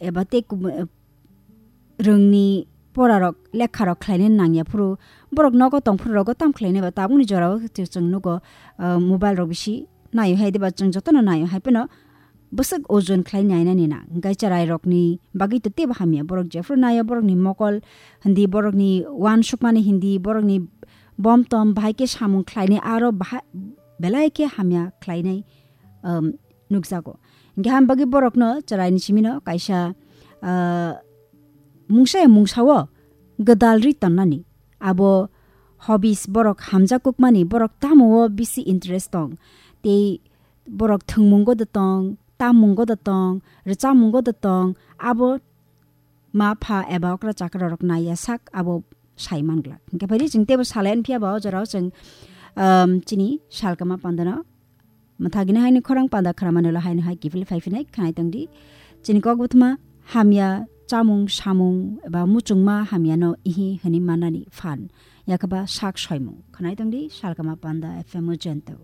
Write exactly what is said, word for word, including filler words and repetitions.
eba tei kum-, eh, rwngni porarok, lekharok khlainai nangya phuru, borok nogo tongphuru rogo tam khlainai ba tabukni jorao chwng nugo, ah, mobile rok bisi naio hai diba chwng jotono naio hai phano bwswk ojon khlai nainani na. Hwnkhe chwrairokni bagwi to teibo hamya, borok jephuru naio borokni mokol hindi, borokni uansukmani hindi, borokni bomtom bahai khe samung khlainai aro bahai belai khe hamya khlainai, um, nukjago. Hingke ham bagwi borokno chwraini simino kaisa, ah, mungsa ya mungsao gwdal ri tonnani. Abo hobbies borok hamjak kukmani, borok tamo o bisi interest tong. Tei borok thwngmungo da tong, tammungo da tong, rwchapmungo da tong, abo ma pha eba okra chakra rok naiya sak abo sai man glak. Hingke phai di chwng teibo salai phiya ba o jorao chwng, um, chini salkama pandano mwthagini haini khorang panda khramani ulo haino hai kiphilwi phai phinai khnai tongdi. Chini kok buthuma hamya chamung samung eba muchungma hamyano ihi hwnwi mannani phan. Yakaba sak soimung. Khnai tongdi salkama panda F M o jento.